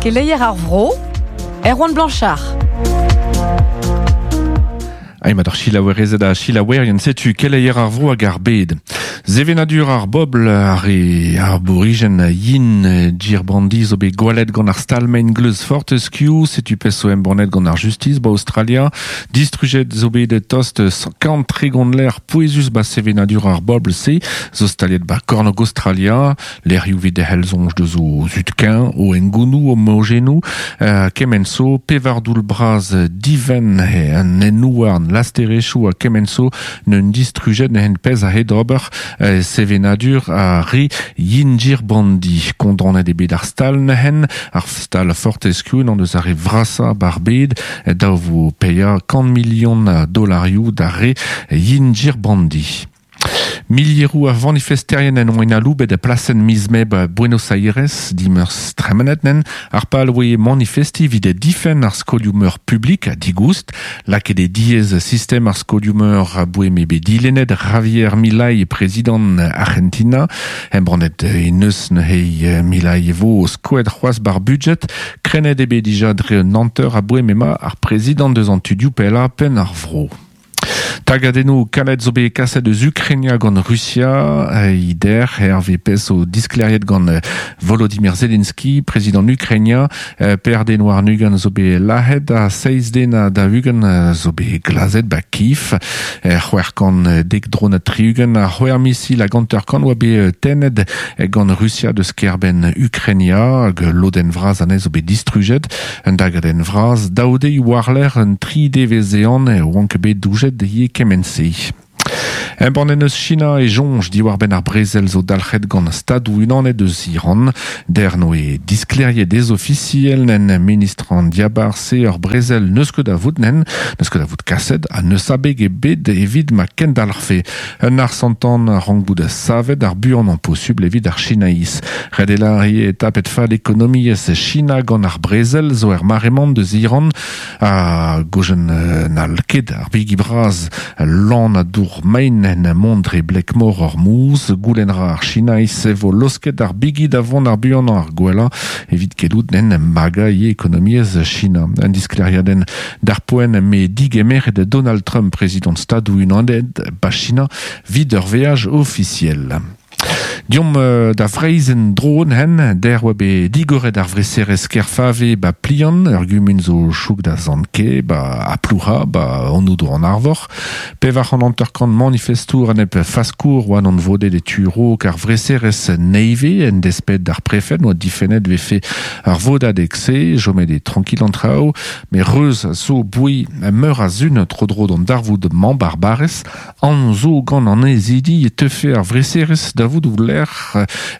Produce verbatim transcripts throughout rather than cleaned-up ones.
Keleier ar vro, Erwan Blanchard. Aimat ar chilaouerezed a chilaouerien setu keleier ar vro hag ar bed. Zevenadur ar bobl ar e ar bourigen yin djir brandi zo bet gwalet gant ar stalmein gleuz Fortescue, setu peso embornet gant ar justice ba Australia, distrujet zo bet tost kant tregont l'air poezus ba sevenadur ar bobl se, zo staliet ba kornog Australia, l'air youvet de helzonj de zo zutkin, o engounou, o mogenou, euh, kemenso, pevardoul braz diven he an enouarn lasterechou a kemenso n'un distrujet n'hen pez a hed ober euh, sevenadur a ri yinjir bandi kondonet e bet ar stal nehen ar stal Fortescue n'an deus ar re vrasa barbed da vo peia kant million a dolarioù da re yinjir bandi. Milierou a manifesterien en oen aloubet a plasen mizme ba Buenos Aires dimers tremenet nen ar pal oe manifesti vid e difen ar skoliumeur publik a digoust lak e diez sistem ar skoliumeur a boe me be dilenet Javier Milei prezident Argentina embrannet e neus hei Milei vo skoet c'hoaz bar budget krenet ebe dija dre un nanteur a boe mema ar prezident deus an tudiou pella pen ar vro. Tagadennoù kalet zo bet kaset eus Ukrainia gant Russia, ider, herve pez o diskleriet gant Volodymyr Zelensky, prezident Ukrainia, per den war nugan zo bet lahet a seiz den a da ugan zo bet glazet ba kif, c'hwec'h kant dek dron a tri-ugent a c'hwec'h misil a ganter kant oa bet tennet gant Russia deus kerben Ukrainia, hag loden vraz anez zo bet distrujet, un dagadenn vraz, daoude warler un tri devezean oank bet doujet ye kemense. Embann eus China e jonj diwar ben ar brezel zo dalc'het gant stadou unanet eus Iran. Der no e diskleriet dez officiel nen ministr an diabar se ur brezel neus ket da vout nen, neus ket da vout kaset ha neus abeg e bet evit ma kendalc'hfe. Un ar santan rank bout a savet ar buan an posubl evit ar Chinaïs. Redela e tapet fall ekonomiez China gant ar brezel zo er maremant deus Iran a gojen nal ket ar bigi braz lan a dour main en mondre blekmor ur mouz, goulenn ra ar Chinaïs vo losket ar bigi da vont ar buan ar gwella evit kelout nen maga ye ekonomiez China. Un diskleriaden d'ar poen me digemer de Donald Trump, prezident stadou unanet ba China vid ur veaj officiel. Diom euh, da vreizen dron hen, der oa bet digoret ar vreserez kerfave ba plian, ur gumun zo chouk da zanke, ba a ploura, ba an an arvor. Pevar an anterkant manifestour an ep faskour oan an vodet e turo kar vreserez neive en despet d'ar prefet, noa difennet vefe ar vodad ekse, jomet e tranquil an trao, me reuz zo boui meur a zun tro dro d'an darvoud man barbarez, an zo gant an ezidi e tefe ar vreserez da vout ou l'air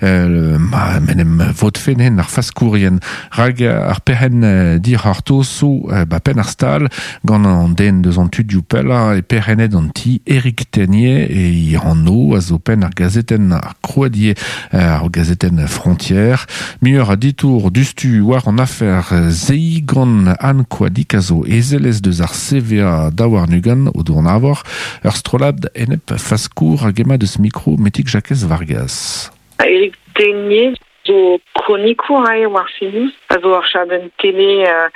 euh, ma menem vot fenen ar faskourien rag ar perhen dir ar to so ba pen ar stal gant an den deus an tudioù pella e perhenet an ti Eric Tenier e i anno a zo pen ar gazeten ar kroadier ar gazeten Frontière muur a ditour dustu war an afer zei gant an koadik a zo ezelez deus ar C V A daouar nugan o doan avor ur strolad enep faskour hag ema deus mikro metik Jacques Vargas. Eric Tenier zo kronikour ae war CNews, a zo ar chadenn tele euh,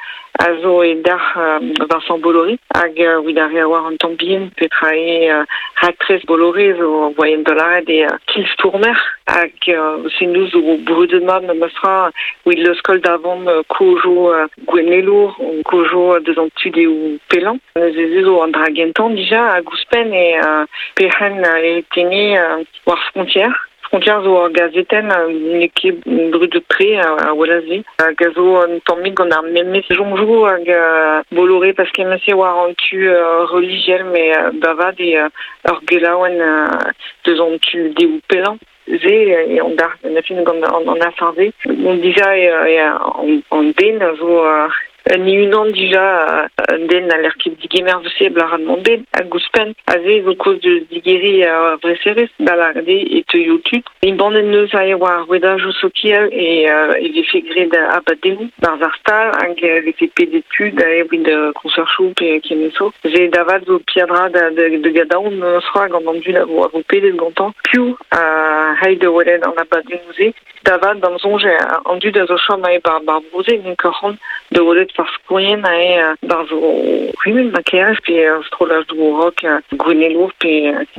a zo e dar euh, Vincent Bolloré hag euh, wid ar war an tamm petra e euh, raktres Bolloré zo voyen dolaret e euh, kilstourmer hag euh, CNews zo brudet mat ma meustra wid leus d'avant euh, kojo euh, gwennelour kojo deus an tud eo pelan. Neuze zo an dragentan dija hag ouzhpenn e euh, perc'henn Eric Tenier euh, war Frontière. Frontière zo ar gazeten n'eo ket brudet tre a welaze. Hag a zo an tammig gant ar memez jonjou hag Bolloré parce que mese war an tu religiel me bavad e ur gelaouen deus an tu deou pelan. Ze e an dar na fin gant an, an afarze. On dija e, e an, an den a zo Ni unan dija un den a l'air ket digemer vese blaran mont bet a gouspen a ze zo koz de digeri a vreserez da la de e teuio tud. Imbanen neus a e war rouedajou sokial e e vefe gred a abadennoù barz ar stal hag vefe pedet tud a e wid konserchou pe kemeso. Ze davad zo piadra da, de, de gadaon neus ra gant an dud a vo, a vo pedet gantañ piv a hai de welet an abadennoù ze. Davad d'am zonj an dud a zo chom a e bar bar broze n'en ket de welet par skourien a e bar zo rumen ma kerez pe strolaj do rock gwenelour pe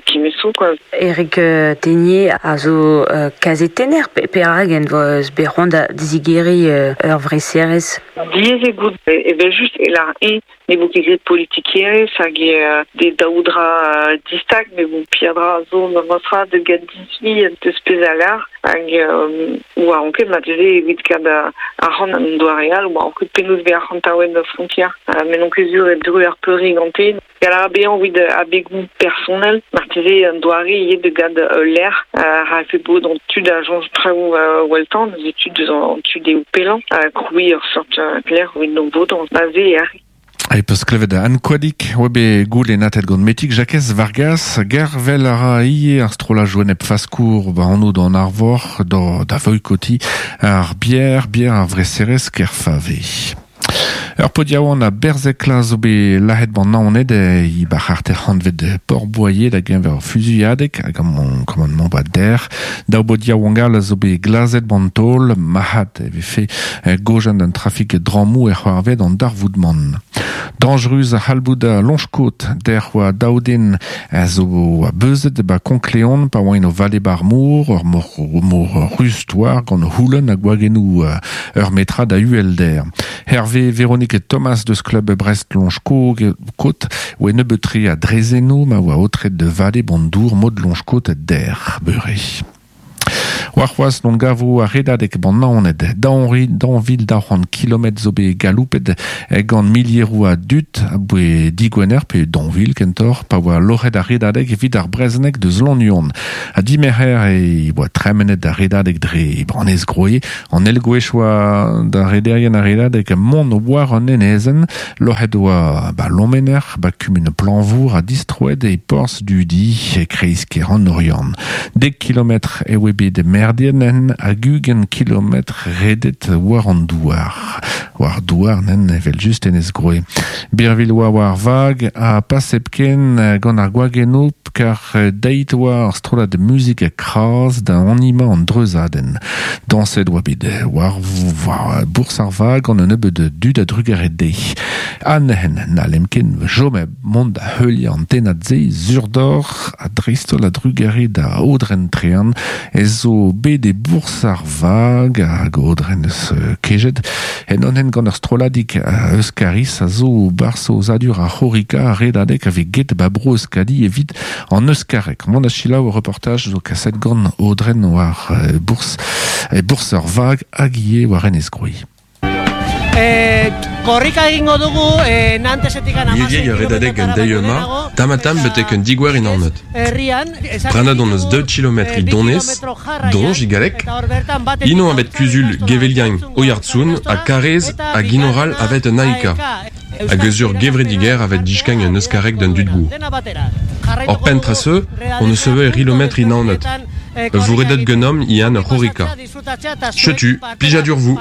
kemeso quoi. Eric Tenier a zo uh, kazetenner pe perag en voz bet da dizigeri uh, ur vreserez. Diez e gout evel just e lar e ne vo ket gret politikerez hag e de daoudra uh, distag me bon piadra zo ma mostra de gad disvi deus pez a lar hag um, oa anket ma teze evit kad ar c'hant an doareal oa anket penaos be ar c'hant da frontière uh, men on ket zur e dru ar peuri gante gal ar bean evit abegoù personnel marteze an doare ivez de gad uh, l'air uh, ha fe bod an tud a jonj traoù uh, weltan eus tud deus an tud eo pelan uh, kroui ur sort uh, l'air evit non bod an baze e ar E peus klevet an koadik, oa bet goul e natet gant metik Jakez Vargas, gervel a ra ie ar strola joenep faskour ba anv d'an arvor da, da voikoti ar bier, bier ar vreserez kerfave. Ur podiaouan a berzekla zo bet lahet ban naoned e bar arter hanvet Port-Boyer da genver fuzuilhadek hag an commandement ba der. Daou bodiaouan gal zo bet glazet ban tol, mahat e vefe gojan d'un trafik dramou e c'hoarvet an darvoudman. Dangerus a halboud a lonchkot der oa daouden a zo a beuzet ba konkleon pa oa o vale bar mour, ur mor, mor rustoar gant houlen a gwagenou ur metra da uelder. Hervé Véronique Thomas deus club Brest Lonchkot oa nebeutri a drezeno ma oa otret de vale bandour mod Lonchkot der beure. Warc'hoaz non gavo a redadek ban naoned daonri danvil da c'hoant kilometr zo bet galoupet gant milieroù a dut a boe digwener pe danvil kentor pa oa loc'het a redadek evit ar brezhoneg deus Lannuon. A dimerc'her e oa tremenet a redadek dre branez groe an elgwech oa da rederien a redadek mont war an enezen loc'het oa ba Lomener ba kumun Planvour a distroet e Porz Dudi e kreiz ker an Oriant. Dek kilometr e oa bet merdienen hag ugent kilometr redet war an douar. War douar nen evel just enez groe. Birvil oa war vag a pasepken gant ar gwageno kar deit oa ar strollad muzik a kraz da anima an dreuzaden. Danset oa bet war, war bours ar vag gant un nebeud dud a drugaret de. An hen na lemken jome mont da heulia an tenad ze zurdor a dreistol a drugare da odren trean ez zo bet e bours ar vag hag odren eus kejet en onen gant ur strolladig euskaris a zo barso zadur a c'horika a redadek ave get ba bro euskadi evit an euskarek. Mont a selaou ur reportaj zo kaset gant odren war bours e bours ar vag hag ivez war enez groe. Eh, korrika egingo dugu eh, Nantesetik hamasei Milier redadek gant deio-ma, tamatam betek un digwer in arnot. Herrian, Pranad on eus deux kilometr i donez, donj i galek, ino avet kuzul gevelien oiartsoun a karez a ginoral avet un aika, hag eus ur gevrediger avet diskagn un euskarek d'un dudgou. Or pentraseu, on eus eo rilometr in arnot. Vouredet genom ian ur c'horrika. Chetu, plijadur vous.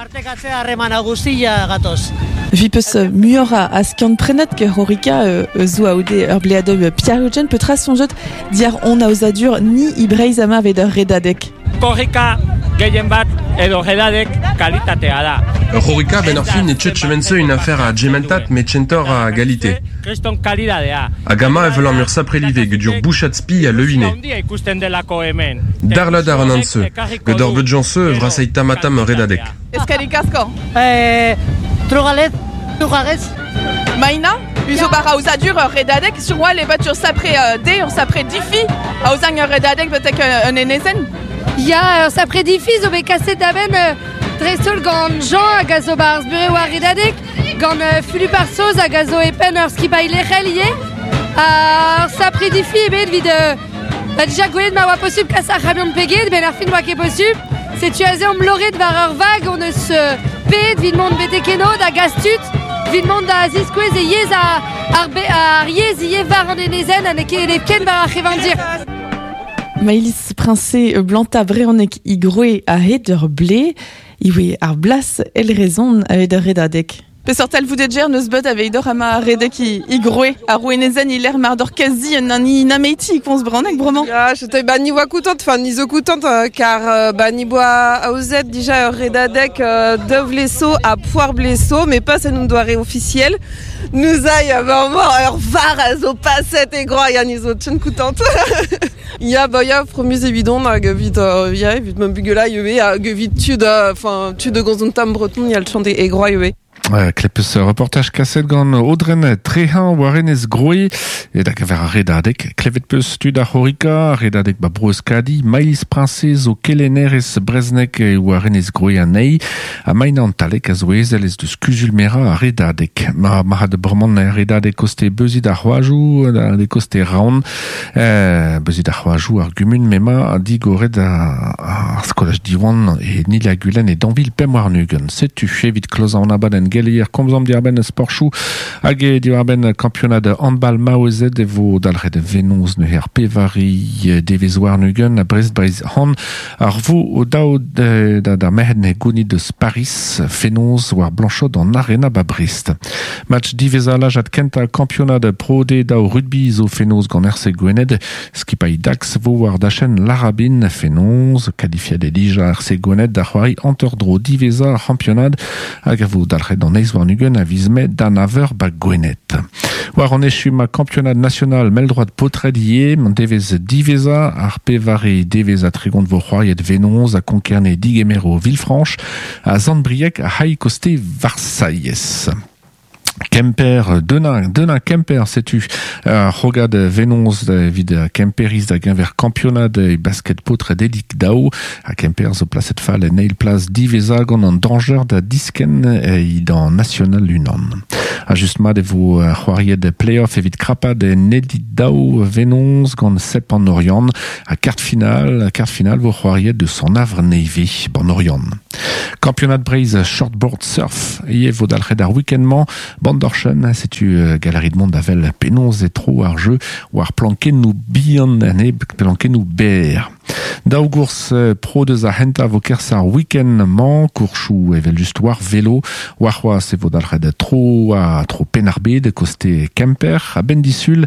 Vi peus muioc'h a skiant prenet ke c'horrika zo a ode ur bleadeu Pierre-Eugène petra sonjot diar on aozadur ni ibreiz ama vet ur redadek. Korrika gehien bat edo redadek kalitatea da. Ur c'horrika ben ar fin e tchet chemense une affaire a gementat met tchentor a galite. Kriston kalidadea. Hag ama evel an ur saprelive ged ur bouchat spi a leuine. Handia ikusten delako hemen. Darlad ar an antse, ged ur beud janse vrasei tamatam ur redadek. Eskerrik asko. Eh, Trugalez, trugarez. Maina, uzo bar aozadur ur redadek, sur oa levat ur sapre uh, de, ur sapre difi, aozang ur redadek betek un enezen. Ya, ur sapre difi zo bet kaset da ben uh, dreistol gant Jean hag a zo barz bure war redadek, gant uh, Fulup ar Soz hag a zo e penn ur skipailh lec'hel ivez. Ur sapre difi ebet evit uh, ba dija gwelet ma oa posubl kas ar c'hamion peget, ben ar fin oa ket posubl. Setu aze omp loret war ur vag on eus uh, pet evit mont betek eno da gastut. Vit mont da ziskouez e yez a, ar, be, ar yez ie var an enezen ha ne ket ken war ar c'hevandir. Maïlis Princé blanta breonek i groe a hed ur ble, iwe ar blas el rezon a hed ur redadek. Peseurt talvoudedjer neus bet aveid ur ama redek i, i groe, ar rouenezen il er mar d'ur kazi un an i nameiti komz branek bremañ. Ya, je ba ni oa koutant, enfin ni zo koutant, euh, car euh, ba ni boa aozet dija ur redadek euh, dov leso a poar bleso, mais pas en un doare officiel. Nous aille vraiment ur var a zo paset e groa ya ni zo tchen koutant. Ya, ba ya, fromuz evidon hag evit, euh, ya, evit ma bugela ivez, hag evit tud, enfin, tud de gant tam breton, ya le chant e groa ivez. Klepus reportaj kaset gant Audren Trehan war enez groe e da gaver ar redadek. Klevet peus tud ar c'horika, redadek ba bro Euskadi, Maïlis Princez o kelenerez breznek war enez groe anei, ha maina an talek a zo ezel ez deus kuzul mera ar redadek. Ma ma had bremañ ar redadek koste beuzit ar c'hoajou, da de koste raon, eh, beuzit ar c'hoajou ar gumun mema digoret ar skolaj diwan e Nil Gulen e Danville pemp warn-ugent. Setu evit klozañ an abadenn gelier komzom diarbenn sporchou hag e diarbenn kampionad handball maouezed e vo dalc'het venoz neuze ar pevari devez warn-ugent a Brest Breiz han ar vo daou da da merc'hed ne gounid deus Paris fenoz war Blanchot an arena ba Brest. Match diveza lajad kenta kampionad Pro D daou rugby zo fenoz gant R C Gwened skipailh Dax vo war dachen Larabin fenoz qualifiad e dija R C Gwened da c'hoari hanter-dro diveza ar c'hampionad hag a vo dalc'het an eiz warn-ugent a viz mae d'an aver ba Gwened. War an echu ma kampionad national mell-droad paotred ivez, an devez diveza ar pevare devez a tregont vo c'hoariet Venoz a Konkerne digemero Villefranche a Zandbriec a haï koste Versailles. Kemper, Denain, Denain Kemper, setu uh, rogad Venoz evit Kemperiz da genver kampionad e basket paotred elik daou a Kemper zo plaset fall en eil plas diveza gant an danger da disken e dan national unan. A just mat e vo c'hoariet play-off evit krapad en elit daou Venoz gant sep an Oriant a kart final, kart final vo c'hoariet de son avre neve ban Oriant. Kampionad Breizh shortboard surf ie vo dalc'het ar week-end-mañ Bandorchen, setu uh, galerie de monde avel penaos e tro ar jeu war plankennoù bihan ane plankennoù ber. Daou gours pro deus ar henta vo kerzh ar week-end-mañ, kourchoù evel just war velo, war c'hoazh e vo dalc'het tro a tro Penn-ar-Bed koste Kemper, a benn disul.